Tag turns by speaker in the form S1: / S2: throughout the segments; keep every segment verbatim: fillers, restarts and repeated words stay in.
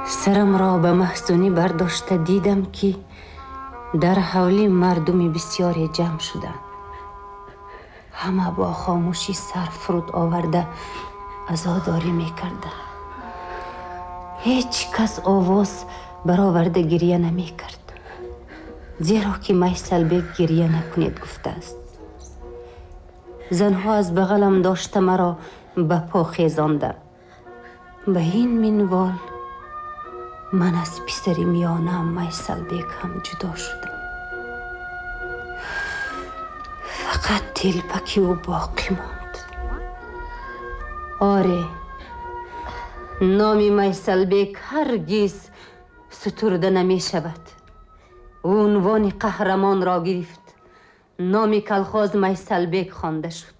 S1: Сарамро ба маҳзунӣ бардошта дидам, ки дар ҳавлӣ мардуми бисёре ҷамъ шуданд. Ҳама бо хомӯшӣ сар фуруд оварда азодорӣ мекарданд. Ҳеҷ кас овоз бароварда гиря намекард, зеро ки Майсалбек гиря накунед гуфтааст. Занҳо аз бағалам дошта маро ба по хезонданд. Ба ин минвол ман аз писари миёнаам Майсалбек ҳам ҷудо шудам. Фақат телпаки ӯ боқӣ монд. Оре, номи Майсалбек ҳаргиз сутурда намешавад. Ӯ унвони қаҳрамонро гирифт. Номи колхоз Майсалбек хонда шуд.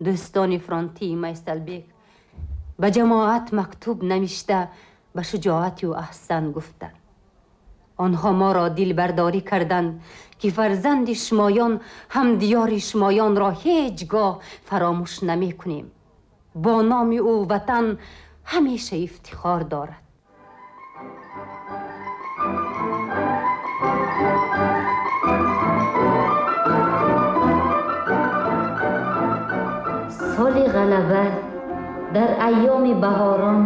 S1: Дӯстони фронтии Майсалбек ба ҷамоат мактуб навишта ба шуҷоати ӯ аҳсан гуфтанд. Онҳо моро дилбардорӣ карданд, ки фарзанди шумоён ҳам диёри шумоёнро ҳеҷ гоҳ фаромӯш намекунем. Бо номи ӯ ватан ҳамеша ифтихор дорад.
S2: Соли ғалаба дар айёми баҳорон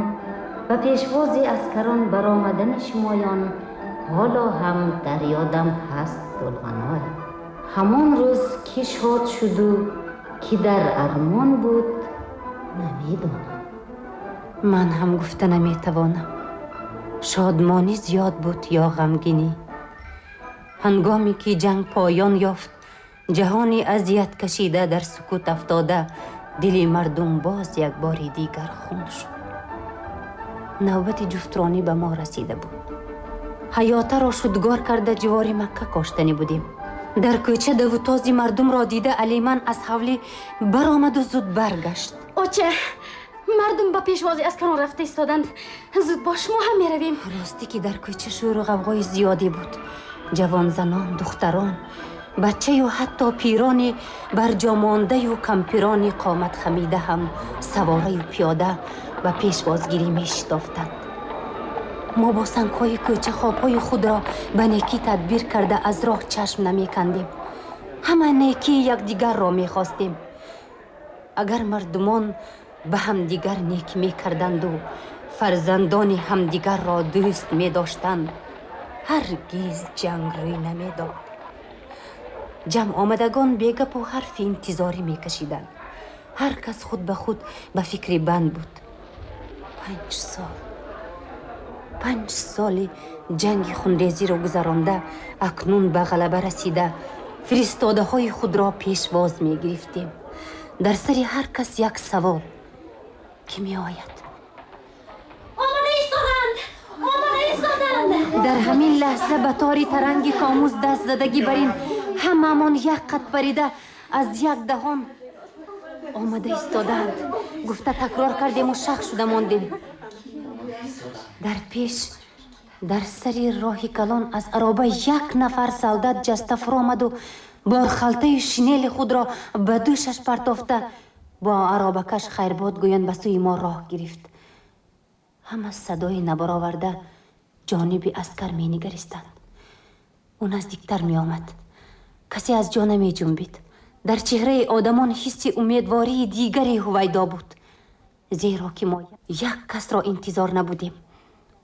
S2: ба пешвози аскарон баромадани шумоён ҳоло ҳам дар ёдам ҳаст Тулғаной. Ҳамон рӯз ки шод шуду ки дар армон буд намедонам.
S1: Ман ҳам гуфта наметавонам, шодмонӣ зиёд буд ё ғамгинӣ. Ҳангоме ки ҷанг поён ёфт, ҷаҳони азият кашида дар сукут афтода, дили мардум боз як бори дигар хун шуд. Навбати ҷуфтронӣ ба мо расида буд. Ҳаётаро шудгор карда ҷивори Макка коштанӣ будем. Дар кӯча давутози мардумро дида Алиман аз ҳавлӣ баромаду зуд баргашт.
S3: Оча, мардум ба пешвози аскарон рафта истоданд. Зуд бош, мо ҳам меравем.
S1: Ростӣ ки дар кӯча шӯру ғавғои зиёде буд. Ҷавонзанон, духтарон, бачаю ҳатто пирони барҷомондаю кампирони қомат хамида ҳам савораю пиёда ба пешвозгирӣ мешитофтанд. Мо бо сангҳои кӯча хобҳои худро ба некӣ тадбир карда аз роҳ чашм намекандем. Ҳама некии якдигарро мехостем. Агар мардумон ба ҳамдигар некӣ мекарданду фарзандони ҳамдигарро дӯст медоштанд, ҳаргиз ҷанг рӯй намедод. Ҷамъ омадагон бегапу ҳарфи интизорӣ мекашиданд. Ҳар кас худ ба худ ба фикри банд буд. Панҷ сол, панҷ соли ҷанги хунрезиро гузаронда, акнун ба ғалаба расида, фиристодаҳои худро пешвоз мегирифтем. Дар сари ҳар кас як савол: ки меояд?
S3: Омада истоданд! Омада истоданд!
S1: Дар ҳамин лаҳза ба тори таранги комуз даст задагӣ бар ин ҳамаамон як қат парида аз як даҳон омада истоданд гуфта такрор кардему шах шуда мондем. Дар пеш, дар сари роҳи калон аз ароба як нафар солдат ҷаста фуромаду борхалтаи шинели худро ба дӯшаш партофта бо аробакаш хайрбод гӯён ба сӯи мо роҳ гирифт. Ҳама садои набароварда ҷониби аскар менигаристанд. Ӯ наздиктар меомад. Касе аз ҷо намеҷунбид. Дар чеҳраи одамон ҳисси умедвории дигаре ҳувайдо буд, зеро ки мо як касро интизор набудем.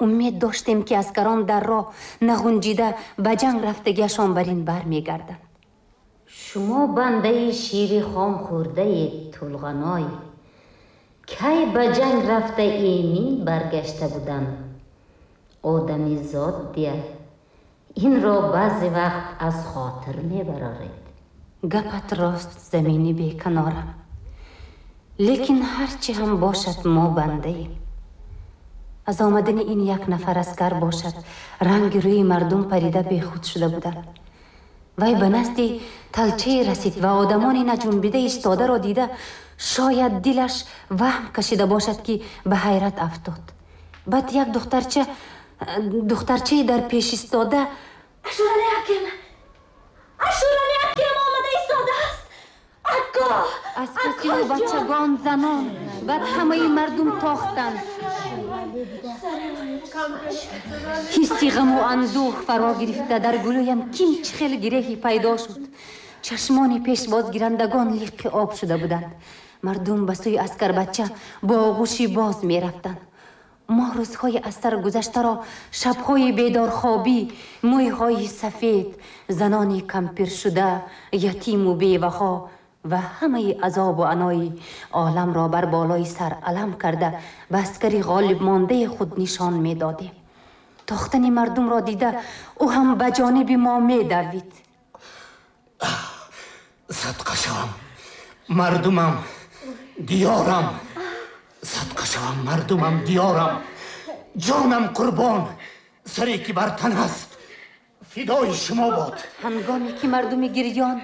S1: Умед доштем, ки аскарон дар роҳ нағунҷида ба ҷанг рафтагиашон бар ин бармегарданд.
S2: Шумо бандаи шири хом хӯрдаед, Тулғаной. Кай ба ҷанг рафта эмин баргашта буданд? Одами зод дия инро баъзе вақт аз хотир мебароред.
S1: Гапат рост, замини беканорам, лекин ҳарчи ҳам бошад мо бандаем. Аз омадани ин як нафар аскар бошад, ранги рӯи мардум парида бехуд шуда буданд. Вай ба назди талчае расид ва одамони наҷунбида истодаро дида, шояд дилаш ваҳм кашида бошад, ки ба ҳайрат афтод. Баъд як духтарча духтарчае дар пеш истода:
S3: Ашурали акем! Ашурали акем омада истодааст! Акко!
S1: Аз паси ӯ бачагон, занон, баъд ҳамаи мардум тохтанд. Ҳисси ғаму андӯҳ фаро гирифта дар гулӯям кимчи хел гиреҳе пайдо шуд. Чашмони пешвозгирандагон лиқи об шуда буданд. Мардум ба сӯи аскарбача бо оғӯши боз мерафтанд. Мо рӯзҳои аз сар гузаштаро, шабҳои бедорхобӣ, мӯйҳои сафед, занони кампиршуда, ятиму беваҳо ва ҳамаи азобу анои оламро бар болои сар алам карда ба аскари ғолибмондаи худ нишон медодем. Тохтани мардумро дида ӯ ҳам ба ҷониби мо медавид.
S4: Садқа шавам мардумам, диёрам, садқа шавам мардумам, диёрам, ҷонам қурбон, саре ки бар тан аст фидои шумо бод.
S1: Ҳангоме ки мардуми гирён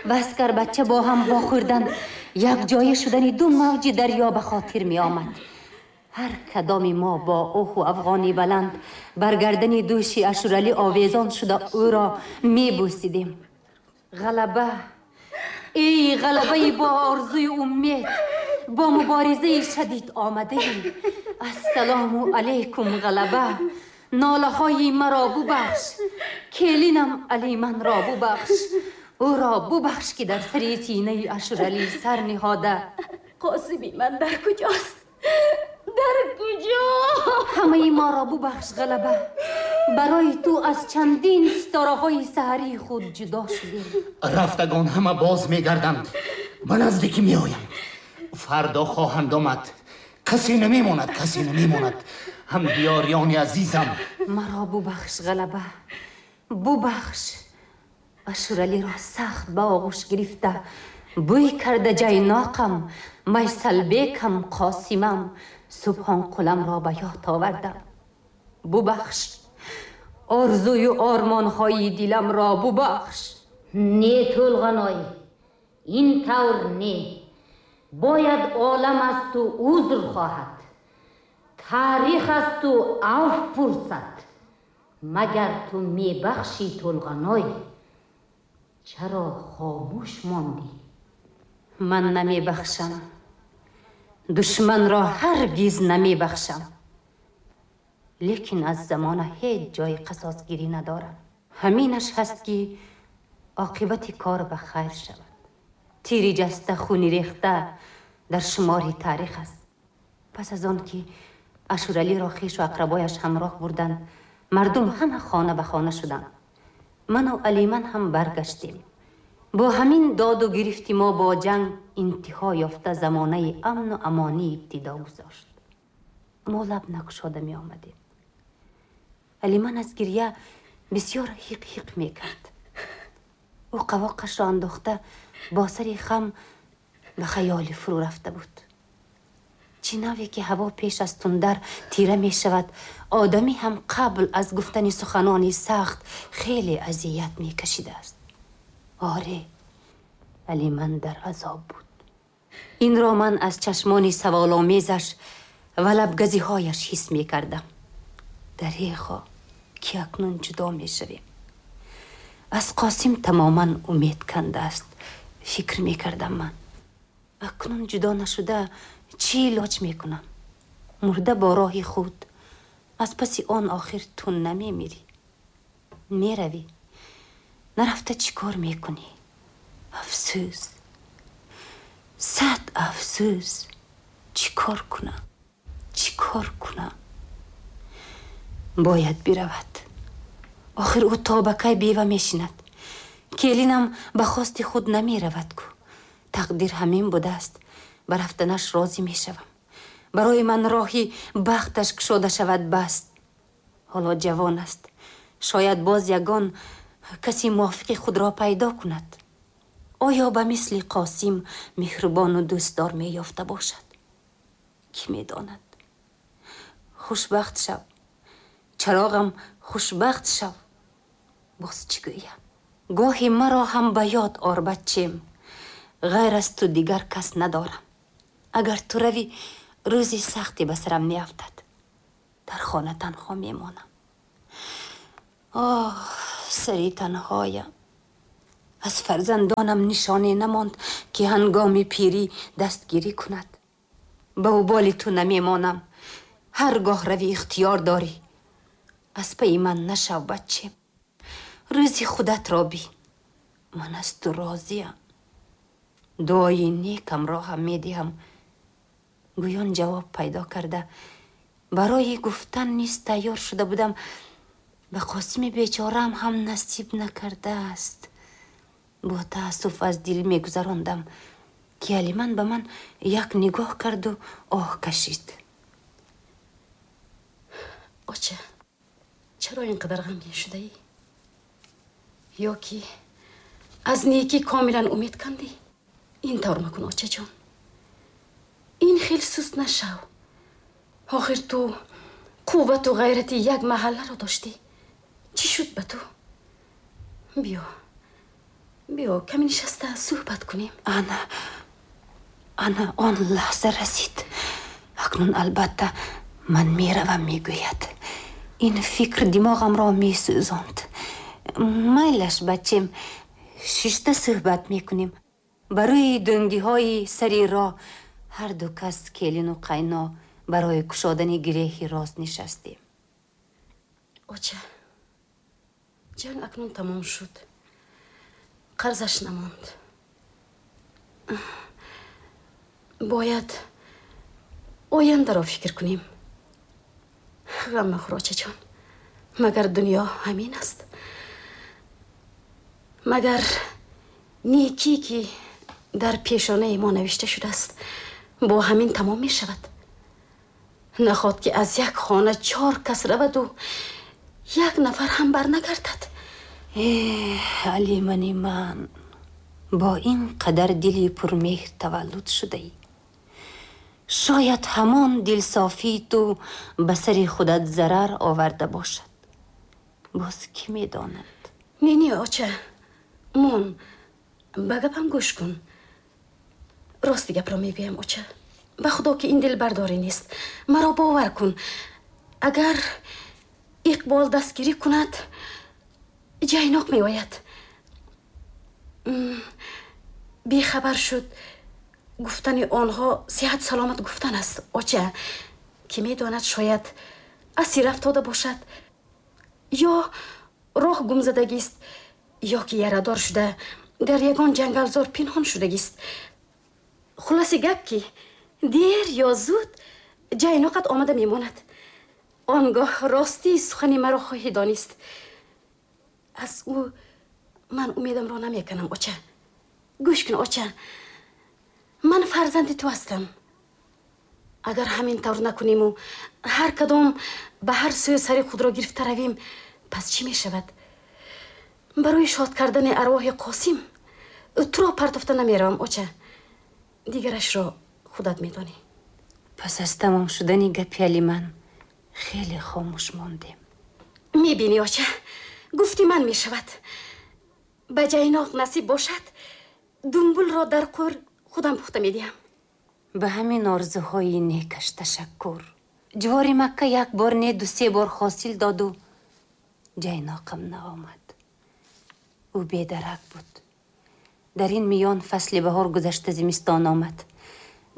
S1: ва аскарбача бо ҳам вохӯрданд, якҷоя шудани ду мавҷи дарё ба хотир меомад. Ҳар кадоми мо бо оҳу афғони баланд бар гардани дӯши Ашуралӣ овезон шуда ӯро мебӯсидем. Ғалаба, эй ғалабаи бо орзуи умед, бо муборизаи шадид омадаем. Ассалому алайкум ғалаба, нолаҳои маро бубахш, келинам Алиманро бубахш, ӯро бубахш ки дар сари синаи Ашуралӣ сар ниҳода.
S3: Қосими ман дар куҷост? Дар куҷо?
S1: Ҳамаи моро бубахш ғалаба, барои ту аз чандин ситораҳои саҳарии худ ҷудо шудем.
S4: Рафтагон ҳама боз мегарданд, ба наздикӣ меоянд, фардо хоҳанд омад. Касе намемонад, касе намемонад. Ҳам диёриёни азизам,
S1: маро бубахш ғалаба, бубахш. Ашуралиро сахт ба оғӯш гирифта бӯй карда ҷайноқам, майсалбекам, Қосимам, Субҳонқуламро ба ёд овардам. Бубахш, орзую ормонҳои диламро бубахш.
S2: Не Тӯлғаной, ин тавр не. Бояд олам аз ту узр хоҳад, таърих аз ту авф пурсад. Магар ту мебахшӣ Тӯлғаной? Чаро хомӯш мондӣ?
S1: Ман намебахшам, душманро ҳаргиз намебахшам. Лекин аз замона ҳеҷ ҷои қасосгирӣ надорам. Ҳаминаш ҳаст ки оқибати кор ба хайр шавад. Тири ҷаста, хуни рехта дар шумори таърих аст. Пас аз он ки Ашуралиро хешу ақрабояш ҳамроҳ бурданд, мардум ҳама хона ба хона шуданд. Ману Алиман ҳам баргаштем. Бо ҳамин доду гирифти мо бо ҷанг интиҳо ёфта замонаи амну амонӣ ибтидо гузошт. Мо лаб накушода меомадем. Алиман аз гирья бисёр ҳиқ-ҳиқ мекард. Ӯ қавоқашро андохта бо сари хам ба хаёли фурӯ рафта буд. Чӣ наве ки ҳаво пеш аз тундар тира мешавад, одамӣ ҳам қабл аз гуфтани суханони сахт хеле азият мекашидааст. Оре, Алиман дар азоб буд. Инро ман аз чашмони саволомезаш ва лабгазиҳояш ҳис мекардам. Дареғо ки акнун ҷудо мешавем. Аз Қосим тамоман умед кандааст, фикр мекардам ман. Акнун ҷудо нашуда чӣ илоҷ мекунам? Мурда бо роҳи худ, аз паси он охир ту намемирӣ. Меравӣ, нарафта чӣ кор мекунӣ? Афсӯс, сад афсӯс, чӣ кор кунам, чӣ кор кунам? Бояд биравад. Охир ӯ то ба кай бева мешинад? Келинам ба хости худ намеравад ку. Тақдир ҳамин будааст. Ба рафтанаш розӣ мешавам. Барои ман роҳи бахташ кушода шавад баст. Ҳоло ҷавон аст. Шояд боз ягон каси мувофиқи худро пайдо кунад. Оё ба мисли Қосим меҳрубону дӯстдор меёфта бошад? Кӣ медонад? Хушбахт шав, чароғам, хушбахт шав. Боз чӣ гӯям? Гоҳе маро ҳам ба ёд ор, бачем. Ғайр аз ту дигар кас надорам. Агар ту равӣ, рӯзи сахте ба сарам меафтад. Дар хона танҳо мемонам. Оҳ, сари танҳоям. Аз фарзандонам нишоне намонд ки ҳангоми пирӣ дастгирӣ кунад. Ба уболи ту намемонам. Ҳаргоҳ равӣ ихтиёр дорӣ. Аз пайи ман нашав, бачем. Рӯзи худатро бин. Ман аз ту розиям. Дуои некамро ҳам медиҳам. Гӯён ҷавоб пайдо карда барои гуфтан низ тайёр шуда будам. Ба Қосими бечораам ҳам насиб накардааст. Бо таассуф аз дил мегузарондам, ки Алиман ба ман як нигоҳ карду оҳ кашид.
S3: Оча, чаро ин қадар ғамгин шудаӣ? Ё ки аз некӣ комилан умед кандӣ? Ин тавр макун, очаҷон. Ин хел суст нашав. Охир ту қуввату ғайрати як маҳалларо доштӣ. Чӣ шуд ба ту? Биё, биё, каме нишаста суҳбат кунем.
S1: Ана, ана он лаҳза расид. Акнун албатта ман меравам, мегӯяд. Ин фикр димоғамро месӯзонд. Майлаш, бачем, шишта суҳбат мекунем. Ба рӯи дӯнгиҳои сари роҳ ҳар ду кас, келину қайно, барои кушодани гиреҳи рост нишастем.
S3: Оча, ҷанг акнун тамом шуд. Қарзаш намонд. Бояд ояндаро фикр кунем. Ғам махӯр, очаҷон. Магар дунё ҳамин аст? Магар некӣ, ки дар пешонаи мо навишта шудааст, бо ҳамин тамом мешавад? Нахоҳад, ки аз як хона чор кас раваду як нафар ҳам барнагардад.
S1: Эҳ, Алимани ман, бо ин қадар дили пурмеҳр таваллуд шудаӣ. Шояд ҳамон дилсофии ту ба сари худат зарар оварда бошад. Боз кӣ медонад?
S3: Не, не, оча, мон, ба гапам гӯш кун. Рости гапро мегӯям, оча. Ба худо, ки ин дилбардорӣ нест. Маро бовар кун. Агар Иқбол дастгирӣ кунад, ҷайноқ меояд. Бехабар шуд гуфтани онҳо сиҳат саломат гуфтан аст, оча. Ки медонад, шояд асир афтода бошад, ё роҳ гумзадагист, ё ки ярадор шуда дар ягон ҷангалзор пинҳон шудагист. Хулоси гап, ки дер ё зуд ҷайноқат омада мемонад. Он гоҳ ростии сухани маро хоҳӣ донист. Аз ӯ ман умедамро намеканам, оча. Гӯш кун, оча, ман фарзанди ту ҳастам. Агар ҳамин тавр накуниму ҳар кадом ба ҳар сӯи сари худро гирифта равем, пас чӣ мешавад? Барои шод кардани арвоҳи Қосим туро партофта намеравам, оча. Дигарашро худат медонӣ.
S1: Пас аз тамом шудани гапи Алиман хеле хомӯш мондем.
S3: Мебинӣ, оча, гуфти ман мешавад. Ба ҷайноқ насиб бошад, думбулро дар қур худам пухта медиҳам.
S1: Ба ҳамин орзуҳои некаш ташаккур. Ҷувори Макка як бор не, ду се бор ҳосил доду ҷайноқам наомад. Ӯ бедарак буд. Дар ин миён фасли баҳор гузашта зимистон омад.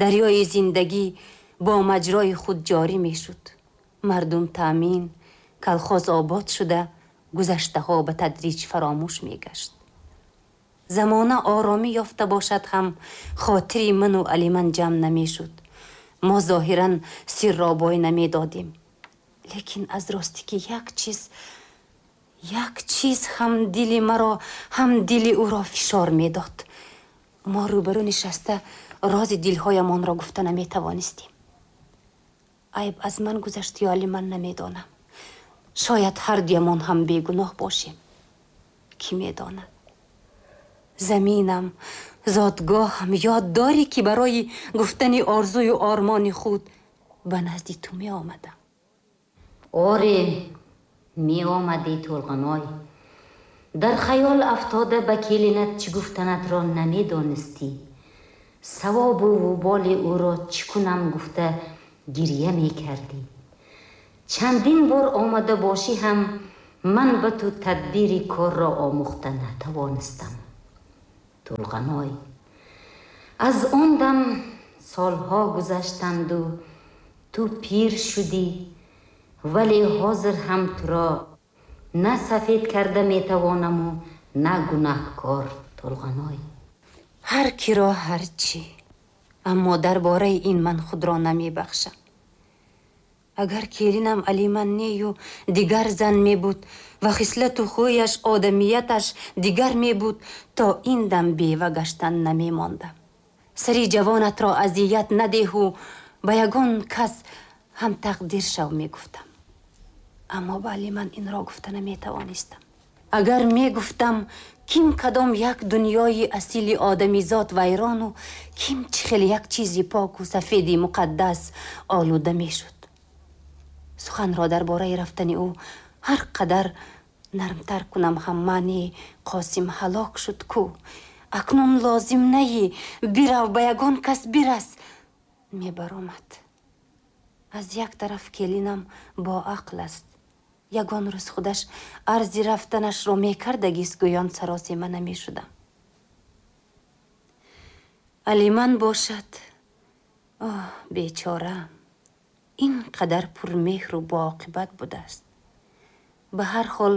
S1: Дарёи зиндагӣ бо маҷрои худ ҷорӣ мешуд. Мардум таъмин, калхоз обод шуда, гузаштаҳо ба тадриҷ фаромӯш мегашт. Замона оромӣ ёфта бошад ҳам, хотири ману Алиман ҷамъ намешуд. Мо зоҳиран сирро бой намедодем. Лекин аз ростӣ, ки як чиз, як чиз ҳам дили маро, ҳам дили ӯро фишор медод. Мо рӯбарӯ нишаста рози дилҳоямонро гуфта наметавонистем. Айб аз ман гузашт ё Алиман, намедонам. Шояд ҳар дуямон ҳам бегуноҳ бошем. Кӣ медонад? Заминам, зодгоҳам, ёд дорӣ, ки барои гуфтани орзую ормони худ ба назди ту меомадам?
S2: Оре, меомадӣ, Толғаной. Дар хаёл афтода ба келинат чӣ гуфтанатро намедонистӣ. Савобу вуболи ӯро чӣ кунам гуфта гирья мекардӣ. Чандин бор омада бошӣ ҳам, ман ба ту тадбири корро омӯхта натавонистам, Тулғаной. Аз он дам солҳо гузаштанду Ту пир шудӣ, вале ҳозир ҳам туро на сафед карда метавонаму на гунаҳкор, Толғаной.
S1: Ҳар киро ҳар чӣ, аммо дар бораи ин ман худро намебахшам. Агар келинам Алиман нею дигар зан мебуд ва хислату хӯяш, одамияташ дигар мебуд, то ин дам бева гаштан намемондам. Сари ҷавонатро азият надеҳу ба ягон кас ҳам тақдир шав мегуфтам. Аммо ба Алиман инро гуфта наметавонистам. Агар мегуфтам, ким кадом як дунёи асили одамизод вайрону ким чӣ хел як чизи поку сафеди муқаддас олуда мешуд. Суханро дар бораи рафтани ӯ ҳар қадар нармтар кунам ҳам маъни Қосим ҳалок шуд ку. Акнун лозим наи, бирав, ба ягон кас бирас, мебаромад. Аз як тараф келинам боақл аст. Ягон рӯз худаш арзи рафтанашро мекардагист, гӯён саросема намешудам. Алиман бошад, оҳ, бечора, ин қадар пурмеҳру боақибат будааст. Ба ҳар ҳол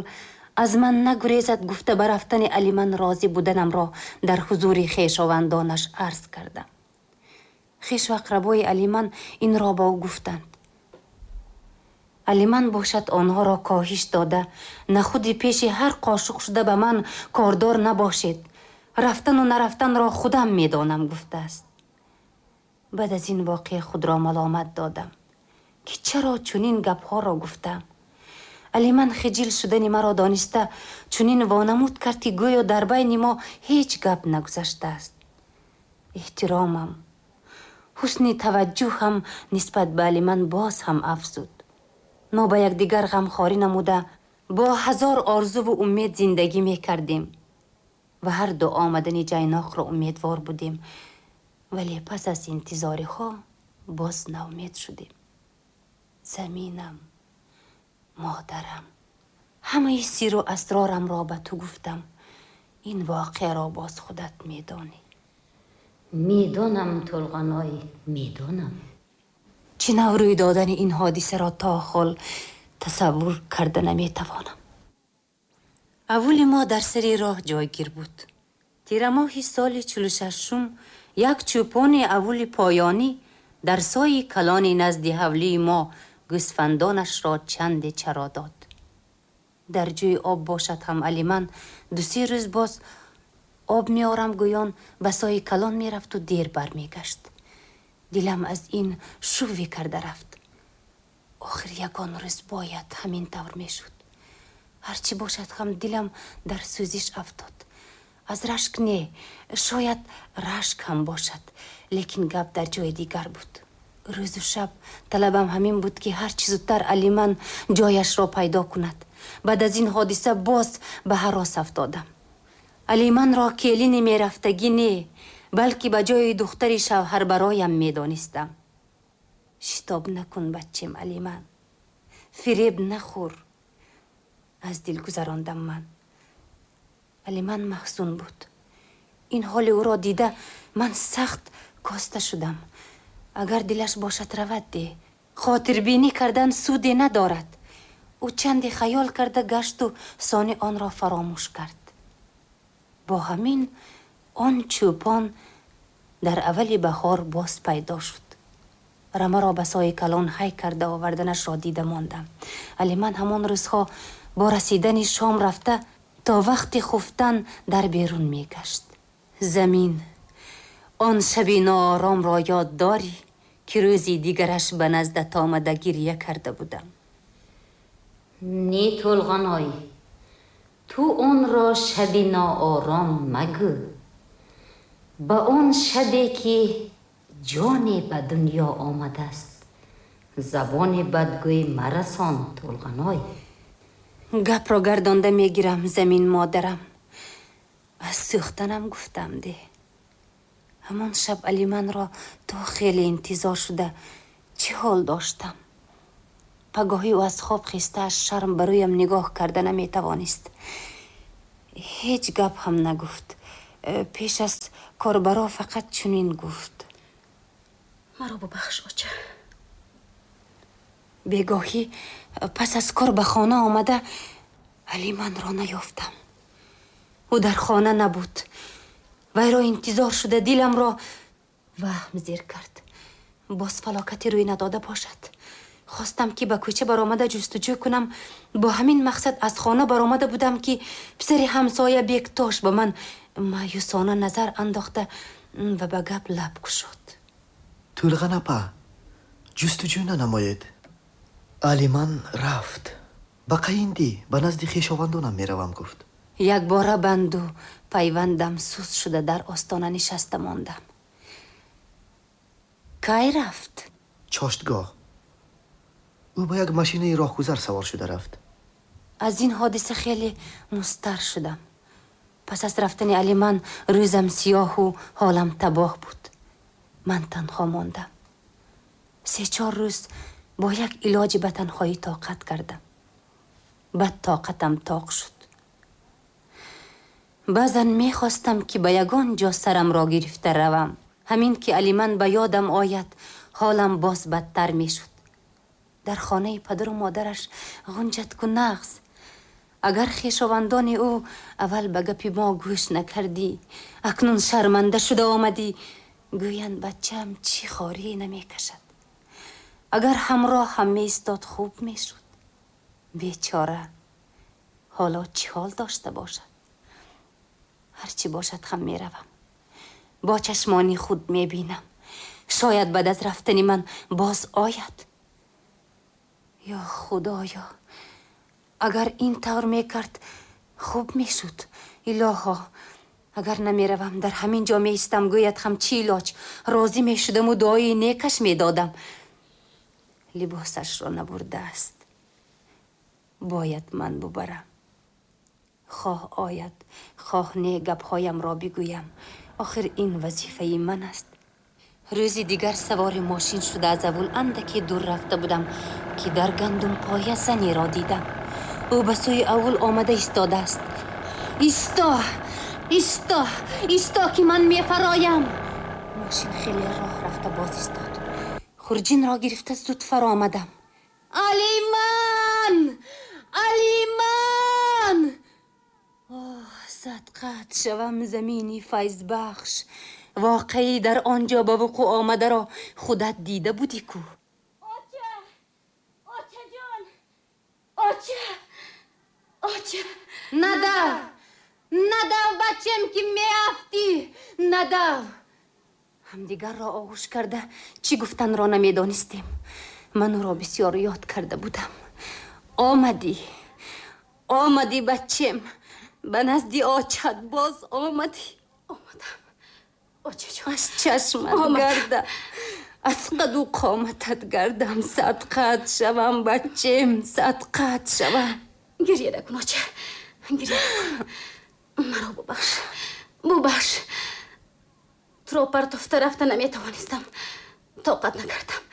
S1: аз ман нагурезад гуфта ба рафтани Алиман розӣ буданамро дар ҳузури хешовандонаш арз кардам. Хешу ақрабои Алиман инро ба ӯ гуфтанд. Алиман бошад онҳоро коҳиш дода, нахуди пеши ҳар қошуқ шуда ба ман кордор набошед, рафтану нарафтанро худам медонам гуфтааст. Баъд аз ин воқеа худро маломат додам, ки чаро чунин гапҳоро гуфтам. Алиман хиҷил шудани маро дониста чунин вонамуд кард, ки гӯё дар байни мо ҳеҷ гап нагузаштааст. Эҳтиромам, ҳусни таваҷҷӯҳам нисбат ба Алиман боз ҳам афзуд. Мо ба якдигар ғамхорӣ намуда бо ҳазор орзуву умед зиндагӣ мекардем ва ҳар ду омадани ҷайноқро умедвор будем, вале пас аз интизориҳо боз ноумед шудем. Заминам, модарам, ҳамаи сиру асрорамро ба ту гуфтам. Ин воқеаро боз худат медонӣ.
S2: Медонам, Толғаной, медонам.
S1: Чӣ нав рӯй додани ин ҳодисаро то ҳол тасаввур карда наметавонам. Аввали мо дар сари роҳ ҷойгир буд. Тирамоҳи соли чилу шашум як чӯпони аввали поёнӣ дар сои калони назди ҳавлии мо гӯсфандонашро чанде чаро дод. Дар ҷӯи об бошад ҳам Алиман ду-се рӯз боз об меорам гӯён ба сои калон мерафту дер бармегашт. Дилам аз ин шувве карда рафт. Охир ягон рӯз бояд ҳамин тавр мешуд. Ҳарчи бошад ҳам дилам дар сӯзиш афтод. Аз рашк не, шояд рашк ҳам бошад, лекин гап дар ҷои дигар буд. Рӯзу шаб талабам ҳамин буд, ки ҳарчи зудтар Алиман ҷояшро пайдо кунад. Баъд аз ин ҳодиса боз ба ҳарос афтодам. Алиманро келини мерафтагӣ не, балки ба ҷои духтари шавҳарбароям медонистам. Шитоб накун, баччем Алиман, фиреб нахӯр, аз дил гузарондам ман. Алиман маҳзун буд. Ин ҳоли ӯро дида ман сахт коста шудам. Агар дилаш бошад равад де, хотирбинӣ кардан суде надорад. Ӯ чанде хаёл карда гашту сони онро фаромӯш кард. Бо ҳамин он чӯпон дар аввали баҳор боз пайдо шуд. Рамаро ба сои калон ҳай карда оварданашро дида мондам. Алиман ҳамон рӯзҳо бо расидани шом рафта то вақти хуфтан дар берун мегашт. Замин, он шаби нооромро ёд дорӣ, ки рӯзи дигараш ба наздат омада гиря карда будам?
S2: Не, Толғаной, ту онро шаби ноором магӯ. Ба он шабе ки ҷоне ба дунё омадааст, забони бадгӯй марасон, Толғаной.
S1: Гапро гардонда мегирам, замин модарам. Аз сӯхтанам гуфтам де. Ҳамон шаб Алиманро то хеле интизор шуда чӣ ҳол доштам. Пагоҳӣ ӯ аз хоб хеста аз шарм ба рӯям нигоҳ карда наметавонист. Ҳеҷ гап ҳам нагуфт. Пеш аз корбаро фақат чунин гуфт:
S3: Маро бубахш, оча.
S1: Бегоҳӣ пас аз кор ба хона омада Алиманро наёфтам. Ӯ дар хона набуд. Вайро интизор шуда диламро ваҳм зер кард. Боз фалокате рӯй надода бошад. Хостам ки ба кӯча баромада ҷустуҷӯ кунам. Бо ҳамин мақсад аз хона баромада будам ки писари ҳамсоя Бектош ба ман маъюсона назар андохта ва ба гап лаб кушод.
S5: Тӯлған апа, ҷустуҷӯ нанамоед. Алиман рафт. Ба Қайинди, ба назди хешовандонам меравам, гуфт.
S1: Якбора банду пайвандам суст шуда дар остона нишаста мондам. Кай рафт?
S5: Чоштгоҳ. Ӯ ба як машинаи роҳгузар савор шуда рафт.
S1: Аз ин ҳодиса хеле мустар шудам. Пас аз рафтани Алиман рӯзам сиёҳу ҳолам табоҳ буд. Ман танҳо мондам. Се-чор рӯз бо як илоҷи ба танҳоӣ тоқат кардам. Баъд тоқатам тоқ шуд. Баъзан мехостам ки ба ягон ҷо сарамро гирифта равам. Ҳамин ки Алиман ба ёдам ояд, ҳолам боз бадтар мешуд. Дар хонаи падару модараш ғунҷатку нағз. Агар хешовандони ӯ аввал ба гапи мо гӯш накардӣ, акнун шарманда шуда омадӣ, гӯянд бачаам чӣ хорӣ намекашад. Агар ҳамроҳ ҳам меистод хуб мешуд. Бечора ҳоло чӣ ҳол дошта бошад? Ҳарчи бошад ҳам меравам. Бо чашмони худ мебинам. Шояд баъд аз рафтани ман боз ояд. Ё Худоё, агар ин тавр мекард хуб мешуд. Илоҳо, агар намеравам дар ҳамин ҷо меистам, гӯяд ҳам чӣ илоҷ? Розӣ мешудаму дуои некаш медодам. Либосашро набурдааст. Бояд ман бубарам. Хоҳ ояд, хоҳ не, гапҳоямро бигӯям. Охир ин вазифаи ман аст. Рӯзи дигар савори мошин шуда аз аввул андаке дур рафта будам ки дар гандумпоя занеро дидам. Ӯ ба сӯи аввул омада истодааст. Исто! Исто! Исто ки ман мефароям! Мошин хеле роҳ рафта боз истод. Хурҷинро гирифта зуд фаромадам. Алиман! Алиман! Оҳ, садқат шавам замини файзбахш. Воқеӣ дар он ҷо ба вуқӯъ омадаро худат дида будӣ ку?
S3: Оча! Очаҷон! Оча! Оча!
S1: Надав! Надав, бачем, ки меафтӣ! Надав! Ҳамдигарро оғӯш карда чӣ гуфтанро намедонистем. Ман ӯро бисёр ёд карда будам. Омадӣ! Омадӣ, бачем! Ба назди очат боз омадӣ.
S3: Омадам. Очаҷон.
S1: Аз чашмат гардам, аз қаду қоматат гардам, садқат шавам, бачем, садқат шавам.
S3: Гирья накун, оча, гирья накун. Маро бубахш, бубахш. Туро партофта рафта наметавонистам. Тоқат накардам,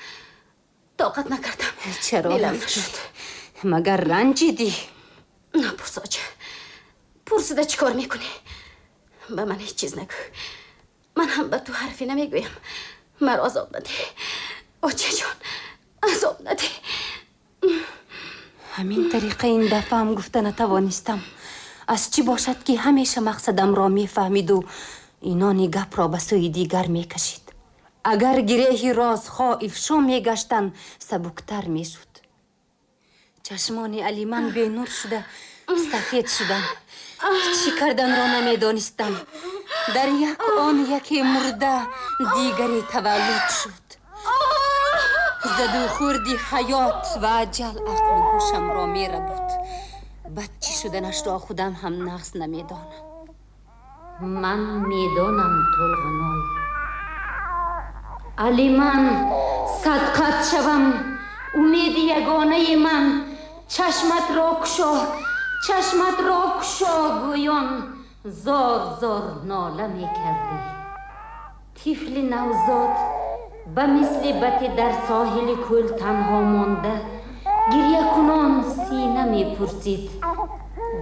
S3: тоқат накардам.
S1: Чаро
S3: Дилам
S1: рафтӣ?
S3: нашуд.
S1: Магар ранҷидӣ?
S3: Напурс, оча. Пурсида чӣ кор мекунӣ? Ба ман ҳеҷ чиз нагӯ. Ман ҳам ба ту ҳарфе намегӯям. Маро азоб надеҳ, очаҷон, азоб надеҳ.
S1: Ҳамин тариқа ин дафъаам гуфта натавонистам. Аз чӣ бошад ки ҳамеша мақсадамро мефаҳмиду инони гапро ба сӯи дигар мекашид. Агар гиреҳи розҳо ифшо мегаштанд, сабуктар мешуд. Чашмони Алиман бенур шуда сафед шуданд. Чӣ карданро намедонистам. Дар як он яке мурда, дигаре таваллуд шуд. Заду хурди ҳаёт ва аҷал ақлу ҳушамро мерабуд. Бад чӣ шуданашро худам ҳам нағз намедонам.
S2: Ман медонам, Тӯлғаной. Алиман, садқат шавам, умеди ягонаи ман. Чашматро кушо, чашматро кушо, гӯён зор зор нола мекардӣ. Тифли навзод ба мисли бате дар соҳили кӯл танҳо монда, гирьякунон сина мепурсид.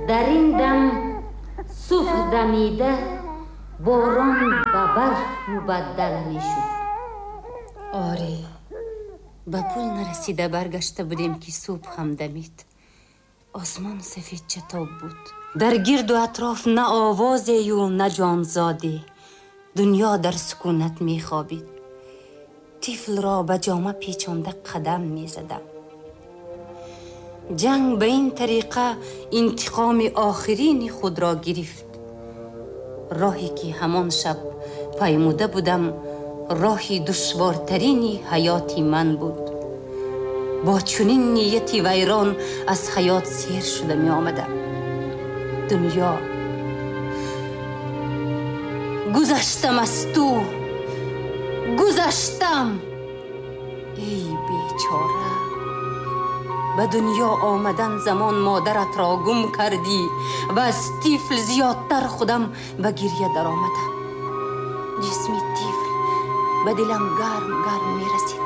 S2: Дар ин дам субҳ дамида борон ба барф мубаддал мешуд.
S1: Оре, Ба пул нарасида баргашта будем, ки субҳ ҳам дамид. Осмон сафед чатоб буд. Дар гирду атроф на овозею на ҷонзоде. Дунё дар сукунат мехобид. Тифлро ба ҷома печонда қадам мезадам. Ҷанг ба ин тариқа интиқоми охирини худро гирифт. Роҳе ки ҳамон шаб паймуда будам, роҳи душвортарини ҳаёти ман буд. Бо чунин нияти вайрон аз ҳаёт сер шуда меомадам. Дунё, гузаштам аз ту, гузаштам. Эй бечора, ба дунё омадан замон модаратро гум кардӣ ва аз тифл зиёдтар худам ба гирья даромадам. Ҷисми тифл ба дилам гарм гарм мерасид.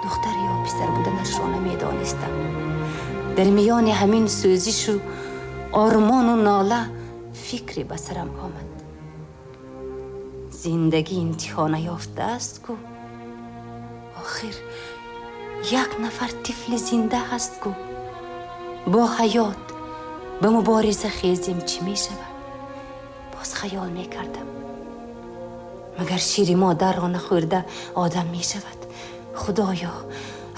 S1: Духтар ё писар буданашро намедонистам. Дар миёни ҳамин сӯзишу ормону нола фикре ба сарам омад. Зиндагӣ интиҳо наёфтааст ку. Охир як нафар тифли зинда ҳаст ку. Бо ҳаёт ба мубориза хезем, чӣ мешавад? Боз хаёл мекардам. Магар шири модарро нахӯрда одам мешавад? Худоё,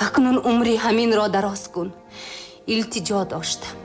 S1: акнун умри ҳаминро дароз кун. Илтиҷо доштам.